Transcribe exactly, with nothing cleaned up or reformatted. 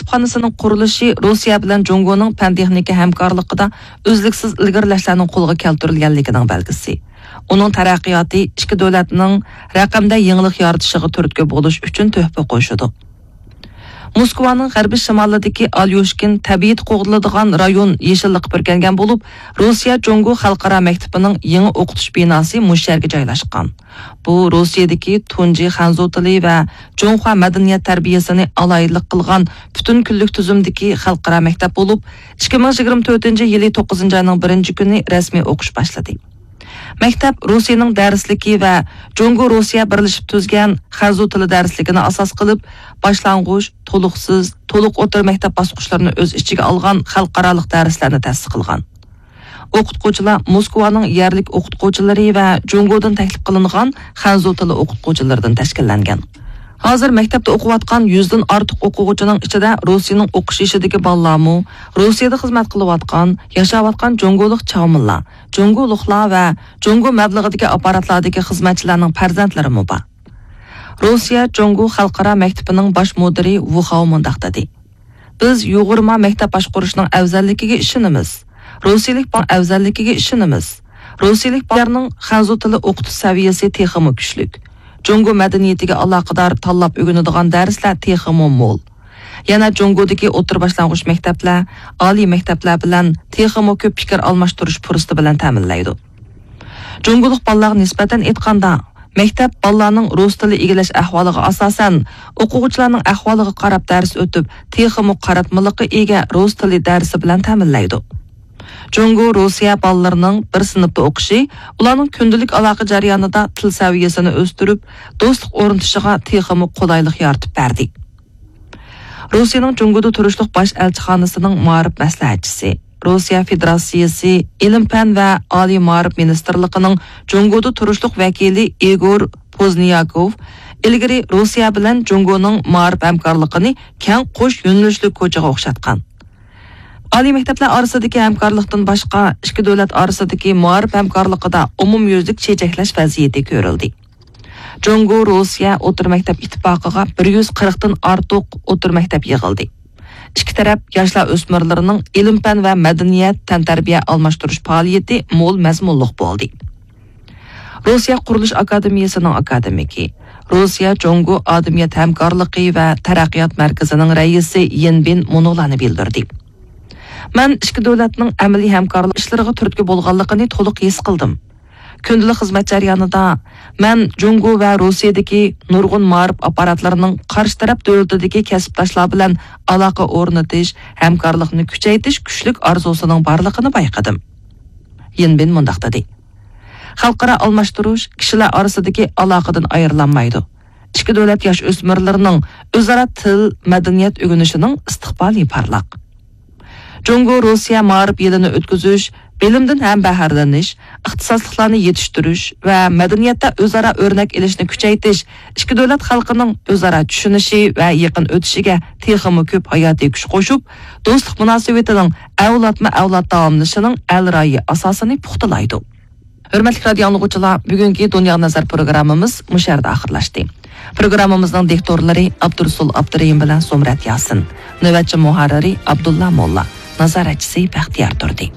كۇتۇپخانىسىنىڭ قۇرۇلۇشى روسىيە بىلەن جۇڭگونىڭ پەن-تېخنىكا ھەمكارلىقىدا ئۈزلۈكسىز ئىلگىرىلەشلەرنىڭ قولغا كەلتۈرۈلگەنلىكىنىڭ بەلگىسى. ئۇنىڭ تەرەققىياتى ئىككى دۆلەتنىڭ رەقەمدە يېڭىلىق يارىتىشىغا تۈرتكە بولۇش ئۈچۈن تۆھپە قوشىدۇ. موسكۋانىڭ غەربىي شىمالىدىكى ئاليۇشكىن تەبىئىتى قوغدىلىدىغان رايون يېشىللىققا پۈركەنگەن بولۇپ، روسىيە جۇڭگو خەلقئارا مەكتىپىنىڭ يېڭى ئوقۇتۇش بىناسى مۇشۇ يەرگە جايلاشقان. بۇ روسىيەدىكى تۇنجى خەنزۇ تىلى ۋە جۇڭخۇا مەدەنىيەت تەربىيەسىنى ئالاھىدىلىك قىلغان پۈتۈن كۈنلۈك تۈزۈمدىكى خەلقئارا مەكتەپ بولۇپ، ئىككى مىڭ يىگىرمە تۆتىنچى يىلى توققۇزىنچى ئاينىڭ بىرىنچى كۈنى رەسمىي ئوقۇش باشلىدى. مەكتەپ روسىيەنىڭ دەرسلىكى ۋە جۇڭگو روسىيە بىرلىشىپ تۈزگەن خەنزۇ تىلى دەرسلىكىنى ئاساس قىلىپ، باشلانغۇچ، تولۇقسىز، تولۇق ئوتتۇرا مەكتەپ باسقۇچلىرىنى ئۆز ئىچىگە ئالغان خەلقئارالىق دەرسلەرنى تەسىس قىلغان. ئوقۇتقۇچىلار موسكۋانىڭ يەرلىك ئوقۇتقۇچىلىرى ۋە جۇڭگودىن تەكلىپ قىلىنغان خەنزۇ تىلى ئوقۇتقۇچىلىرىدىن تەشكىللەنگەن. ھازىر مەكتەپتە ئوقۇۋاتقان يۈزدىن ئارتۇق ئوقۇغۇچىنىڭ ئىچىدە روسىيەنىڭ ئوقۇش يېشىدىكى بالىلارمۇ، روسىيەدە خىزمەت قىلىۋاتقان، ياشاۋاتقان جۇڭگولۇق چاۋمىنلار، جۇڭگولۇقلار ۋە جۇڭگو مەبلىغىدىكى ئاپپاراتلاردىكى خىزمەتچىلەرنىڭ پەرزەنتلىرىمۇ بار. روسىيە جۇڭگو خەلقئارا مەكتىپىنىڭ باش مۇدىرى ۋۇ خاۋ مۇنداق دېدى: بىز يۇغۇرما مەكتەپ باشقۇرۇشنىڭ ئەۋزەللىكىگە ئىشىنىمىز. روسىيىلىك با-، ئەۋزەللىكىگە ئىشىنىمىز. روسىيىلىك بالىلارنىڭ خەنزۇ تىلى ئوقۇتۇش سەۋىيەسى تېخىمۇ كۈچلۈك. جۇڭگو مەدەنىيىتىگە ئالاقىدار تاللاپ ئۆگىنىدىغان دەرسلەر تېخىمۇ مول. يەنە جۇڭگودىكى ئوتتۇرا باشلانغۇچ مەكتەپلەر، ئالىي مەكتەپلەر بىلەن تېخىمۇ كۆپ پىكىر ئالماشتۇرۇش پۇرسىتى بىلەن تەمىنلەيدۇ. جۇڭگولۇق بالىلارغا نىسبەتەن ئېيتقاندا، مەكتەپ بالىلارنىڭ رۇس تىلى ئىگىلەش ئەھۋالىغا ئاساسەن، ئوقۇغۇچىلارنىڭ ئەھۋالىغا قاراپ دەرس ئۆتۈپ، تېخىمۇ قاراتمىلىققا ئىگە رۇس تىلى دەرسى بىلەن تەمىنلەيدۇ. جۇڭگو روسىيە بالىلىرىنىڭ بىر سىنىپتا ئوقۇشى ئۇلارنىڭ كۈندىلىك ئالاقە جەريانىدا تىل سەۋىيەسىنى ئۆستۈرۈپ، دوستلۇق ئورنىتىشىغا تېخىمۇ قولايلىق يارىتىپ بەردى. روسىيەنىڭ جۇڭگودا تۇرۇشلۇق باش ئەلچىخانىسىنىڭ مائارىپ مەسلىھەتچىسى، روسىيە فېدېراتسىيىسى ئىلىم-پەن ۋە ئالىي مائارىپ مىنىستىرلىقىنىڭ جۇڭگودا تۇرۇشلۇق ۋەكىلى ئىگور پوزنياكوف ئىلگىرى روسىيە بىلەن جۇڭگونىڭ مائارىپ ھەمكارلىقىنى كەڭ قوش يۆنىلىشلىك كوچىغا ئوخشاتقان. ئالىي مەكتەپلەر ئارىسىدىكى ھەمكارلىقتىن باشقا، ئىككى دۆلەت ئارىسىدىكى مائارىپ ھەمكارلىقىدا ئومۇميۈزلۈك چېچەكلەش ۋەزىيىتى كۆرۈلدى. جۇڭگو روسىيە ئوتتۇرا مەكتەپ ئىتتىپاقىغا بىر يۈز قىرىقتىن ئارتۇق ئوتتۇرا مەكتەپ يىغىلدى. ئىككى تەرەپ ياشلار ئۆسمۈرلىرىنىڭ ئىلىم-پەن ۋە مەدەنىيەت، تەنتەربىيە ئالماشتۇرۇش پائالىيىتى مول مەزمۇنلۇق بولدى. روسىيە قۇرۇلۇش ئاكادېمىيەسىنىڭ ئاكادېمىكى، روسىيە جۇڭگو ئادەمىيەت ھەمكارلىقى ۋە تەرەققىيات مەركىزىنىڭ رەئىسى يىن بىن مۇنۇلارنى بىلدۈردى. مەن ئىككى دۆلەتنىڭ ئەمەلىي ھەمكارلىق ئىشلىرىغا تۈرتكە بولغانلىقىنى تولۇق ھېس قىلدىم. كۈندىلىك خىزمەت جەريانىدا مەن جۇڭگو ۋە روسىيەدىكى نۇرغۇن مائارىپ ئاپپاراتلىرىنىڭ قارشى تەرەپ دۆلىتىدىكى كەسىپداشلار بىلەن ئالاقە ئورنىتىش، ھەمكارلىقنى كۈچەيتىش كۈچلۈك ئارزۇسىنىڭ بارلىقىنى بايقىدىم. يىن بىن مۇنداق دېدى: خەلقئارا ئالماشتۇرۇش كىشىلەر ئارىسىدىكى ئالاقىدىن ئايرىلالمايدۇ. ئىككى دۆلەت ياش ئۆسمۈرلىرىنىڭ ئۆزئارا تىل، مەدەنىيەت ئۆگىنىشىنىڭ ئىستىقبالى پارلاق. جۇڭگو روسىيە مائارىپ يىلىنى ئۆتكۈزۈش، بىلىمدىن ھەمبەھرىلىنىش، ئىختىساسلىقلارنى يېتىشتۈرۈش ۋە مەدەنىيەتتە ئۆزئارا ئۆرنەك ئېلىشنى كۈچەيتىش ئىككى دۆلەت خەلقىنىڭ ئۆزئارا چۈشىنىشى ۋە يېقىن ئۆتۈشىگە تېخىمۇ كۆپ ھاياتىي كۈچ قوشۇپ، دوستلۇق مۇناسىۋىتىنىڭ ئەۋلادمۇ ئەۋلاد داۋاملىشىشىنىڭ ئەلرايى ئاساسىنى پۇختىلايدۇ. ھۆرمەتلىك رادىئو ئاڭلىغۇچىلار، بۈگۈنكى دۇنياغا نەزەر پروگراممىمىز مۇشۇ يەردە ئاخىرلاشتى. پروگراممىمىزنىڭ دىكتورلىرى ئابدۇرۇسۇل ئابدۇرېھىم بىلەن زۇمرەت ياسىن، نۆۋەتچى مۇھەررىرى ئابدۇللا موللا، نازارەتچىسى بەختىيار تۇردى.